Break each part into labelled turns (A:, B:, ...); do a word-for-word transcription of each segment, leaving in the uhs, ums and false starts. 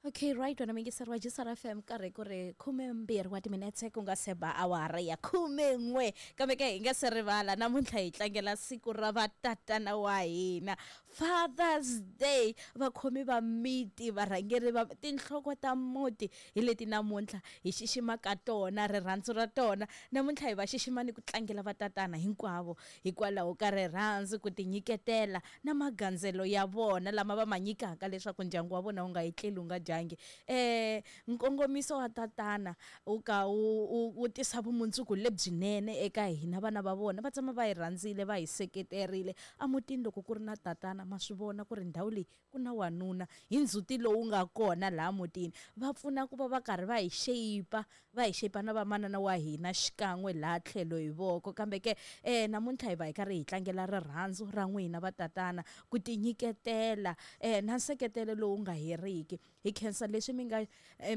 A: Okay, right, wena muyingiseri wa G S R F M, karhi ku ri khumembirhi wa timinetse ku nga se ba awara ya khumen'we. Kambe ke hi nga se rivala, namuntlha hi tlangela siku ra vatatana wa hina, Father's Day. Vakhomi va miti, varhangeri va tinhloko ta muti, hi leti namuntlha hi xiximaka tona rirhandzu ra tona. Namuntlha hi va xixima ni ku tlangela vatatana hinkwavo hikwalaho ka rirhandzu, ku tinyiketela na magandzelo ya vona lama va ma nyikaka leswaku ndyangu wa vona wu nga etleli wu nga dyangi. eh nkongomiso wa tatana wu ka wu wu tisa vumundzuku lebyinene eka hina vana va vona. Va tshama va hi rhandzile, va hi seketerile emutini. Loko ku ri na tatana, ma swi vona ku ri ndhawu leyi ku na wanuna hi ndzhuti lowu nga kona laha mutini. Va pfuna ku va va karhi va hi shape, va hi shape na vamanana wa hina xikan'we laha tlhelo hi voko. Kambe ke eh namuntlha hi va hi karhi hi tlangela rirhandzu ra n'wina vatatana, ku tinyiketela eh na nseketelo lowu nga heriki. Hi khensa leswi mi nga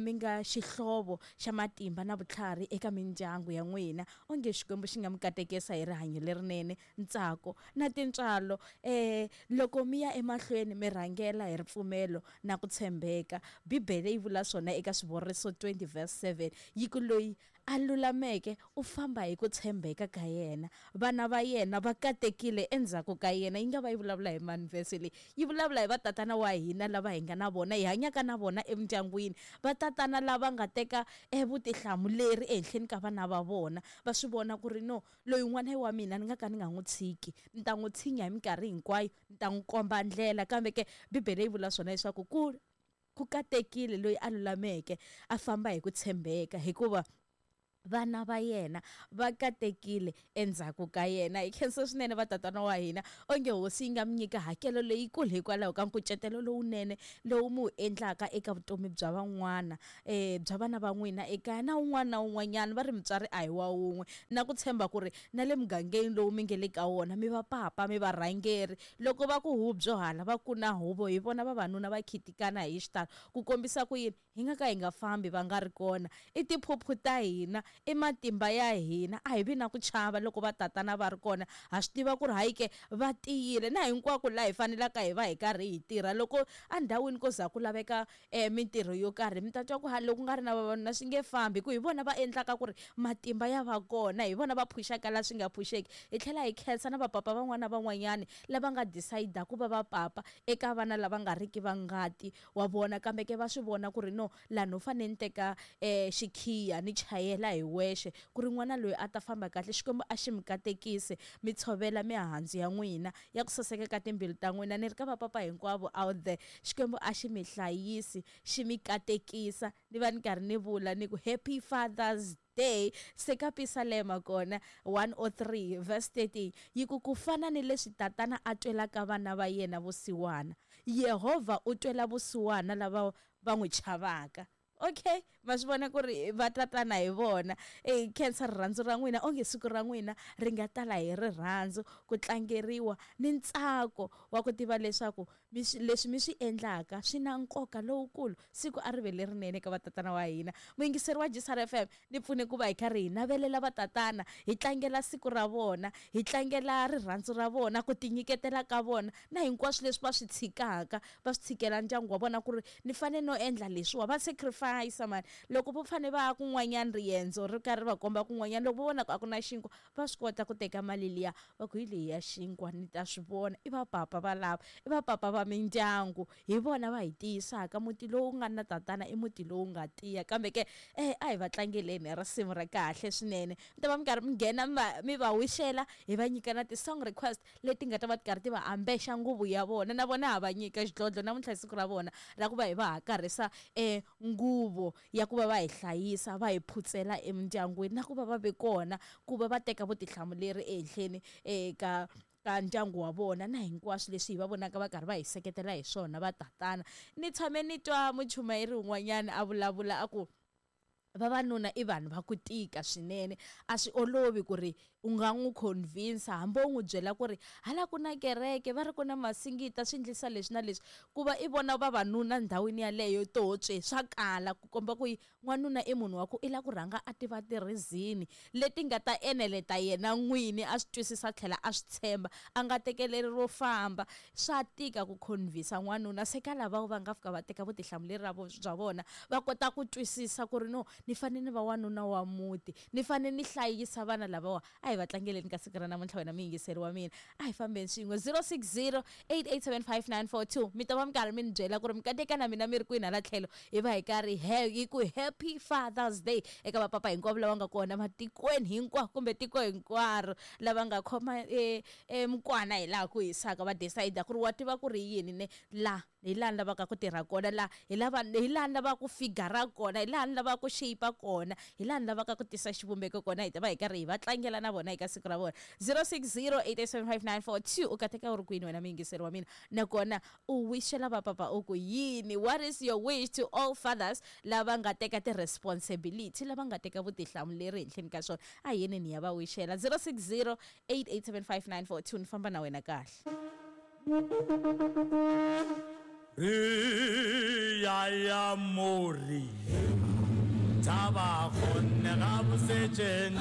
A: mi nga xihlovo xa matimba na vutlhari eka mindyangu ya n'wina. Onge Xikwembu xi nga mi katekisa hi rihanyo lerinene, ntsako na tintswalo eh loko mi ya emahlweni mi rhangela hi ripfumelo na ku tshembeka. Bibele yi vula swona eka Swivuriso twenty verse seven, yi ku loyi a lulameke u famba hi ku tshembeka ka yena, vana va yena va katekile endzhaku ka yena. Yi nga va yi vulavula hi mani vhese leyi? Yi vulavula hi vatatana wa hina lava hi nga na vona, hi hanyaka na vona emindyangwini, vatatana lava nga teka evutihlamuleri ehenhleni ka vana va vona. Va swi vona ku ri no, loyi n'wana wa mina ni nga ka ni nga n'wi tshiki, ni ta n'wi tshinya hi minkarhi hinkwayo, ni ta n'wi komba ndlela. Kambe ke Bibele yi vula swona leswaku ku ku katekile loyi a lulameke a famba hi ku tshembeka, hikuva vana va yena va katekile endzhaku ka yena. Hi khensa swinene vatatana wa hina. Onge Hosi yi nga mi nyika hakelo leyikulu hikwalaho ka nkucetelo lowunene lowu mi wu endlaka eka vutomi bya van'wana, um bya vana va n'wina ekaya na un'wana na un'wanyana. Va ri mutswari a hi wa wun'we, na ku tshemba ku ri na le mugangeni lowu mi nge le ka wona mi va papa, mi varhangeri. Loko va ku huvo hala va ku na huvo, hi vona vavanuna va khitikana hi xitalo ku kombisa ku yini hi nga ka hi nga fambi va nga ri kona. I tiphuphu ta hina, i matimba ya hina. A hi vi na ku chava loko va tatana va ri kona. Ha swi tiva ku ri hayi ke, va tiyile na hinkwako laha hi fanelaka hi va hi karhi hi tirha. Loko endhawini ko za ku laveka um mintirho yo karhi, mi ta twa ku ha loko ku nga ri na vavanuna swi nge fambi, hi ku hi vona va endlaka ku ri matimba ya va kona, hi vona va phuxaka laha swi nga phuxeki. Hi tlhela hi khensa na vapapa van'wana na van'wanyani lava nga decide ku va vapapa eka vana lava nga riki va ngati wa vona, kambe ke va swi vona ku ri no, laha no fanele ni teka um xikhiya ni chayela hi wexe ku ri n'wana loyi a ta famba kahle. Xikwembu a xi mi katekisi, mi tshovela mihandzu ya n'wina ya ku saseka ka timbilu ta n'wina. Ni ri ka vapapa hinkwavo out there, Xikwembu a xi mi hlayisi, xi mi katekisa. Ni va ni karhi ni vula ni ku happy Father's Day. Se ka Pisalema kona one oh three verse thirteen yi ku ku fana ni leswi tatana a twelaka vana va yena vusiwana, Yehovha u twela vusiwana lava va n'wi chavaka. Okay, ma swi vona ku ri va tatana hi vona. E khensa rirhandzu ra n'wina. Onge siku ra n'wina ri nga tala hi rirhandzu, ku tlangeriwa ni ntsako wa ku tiva leswaku mi swi leswi mi swi endlaka swi na nkoka lowukulu. Siku a ri ve lerinene ka vatatana wa hina. Muyingiseri wa G S R F M, ni pfune ku va hi karhi hi navelela vatatana, hi tlangela siku ra vona, hi tlangela rirhandzu ra vona, ku tinyiketela ka vona na hinkwaswo leswi va swi tshikaka, va swi tshikela ndyangu wa vona ku ri ni fanele no endla leswiwa. Va sacrifice mani. Loko vo fane va ya kun'wanyana, riendzo ri karhi ri va komba kun'wanyana, loko vo vona ku a ku na xinkwa, va swi kota ku teka mali liya va ku hi leyi ya xinkwa, ni ta swi vona. I vapapa va lava, i vapapa va mindyangu, hi vona va hi tiyisaka. Muti lowu nga na tatana i muti lowu nga tiya. Kambe ke eh a hi va tlangeleni hi risimu ra kahle swinene. Mi ta va mi karhi mi nghena, mi va mi va wixela, hi va nyika na ti-song request leti nga ta va ti karhi ti va ambexa nguvu ya vona. Na vona ha va nyika xidlodlo namuntlha hi siku ra vona ra ku va hi va hakarhisa um nguvo ya ku va va hi hlayisa, va hi phutsela emindyangwini, na ku va va ve kona ku va va teka vutihlamuleri ehenhleni eka ka ndyangu wa vona na hinkwaswo leswi hi va vonaka va karhi va hi seketela hi swona va tatana. Ni tshame ni twa muchumayeri un'wanyana a vulavula a ku Vavanuna i vanhu va ku tika swinene, a swi olovi ku ri u nga n'wi convince hambi u n'wi byela ku ri hala ku na kereke va ri ku na masingita swi endlisa leswi na leswi, ku va i vona vavanuna ndhawini yaleyo totswe swa kala ku komba ku n'wanuna i munhu wa ku i lava ku rhanga a tiva ti-reason leti nga ta eneleta yena n'wini a swi twisisa tlhela a swi tshemba, a nga tekeleri ro famba. Swa tika ku convince n'wanuna, se ka lava va nga fika va teka vutihlamuleri ra bya vona va kota ku twisisa ku ri no, ni fanele ni va wanuna wa muti, ni fanele ni hlayisa vana lavawa. A hi va tlangeleni ka siku ra namuntlha wena muyingiseri wa mina, a hi fambeni swin'we. Zero six zero eight eight seven five nine four two, mi ta va mi karhi mi ni byela ku ri mi kateka na mina mi ri kwini hala tlhelo, hi va hi karhi hi ku happy Father's Day eka vapapa hinkwavo lava nga kona matikweni hinkwako kumbe tiko hinkwaro, lava nga khoma e, e mukwana hi laha ku hisaka, va decide ku ri wa tiva ku ri yini ne la hi laha ni lavaka ku tirha kona, la hi lava hi laha ni lavaka ku figura kona, hi laha ni lavaka ku shape kona, hi laha ni lavaka ku tisa xivumbeko kona. Hi ta va hi karhi hi va tlangela na vona eka siku ra vona. Zero six zero eight eight seven five nine four two, u kateka u ri kwini wena muyingiseri wa mina, nakona u wishela vapapa u ku yini? What is your wish to all fathers lava nga teka ti-responsibility, lava nga teka vutihlamuleri henhleni ka swona? A hi yeni ni ya va wishela. Zero six zero eight eight seven five nine four two, ni famba na wena kahle.
B: Ya ya mori taba khonne ga bosetšeng.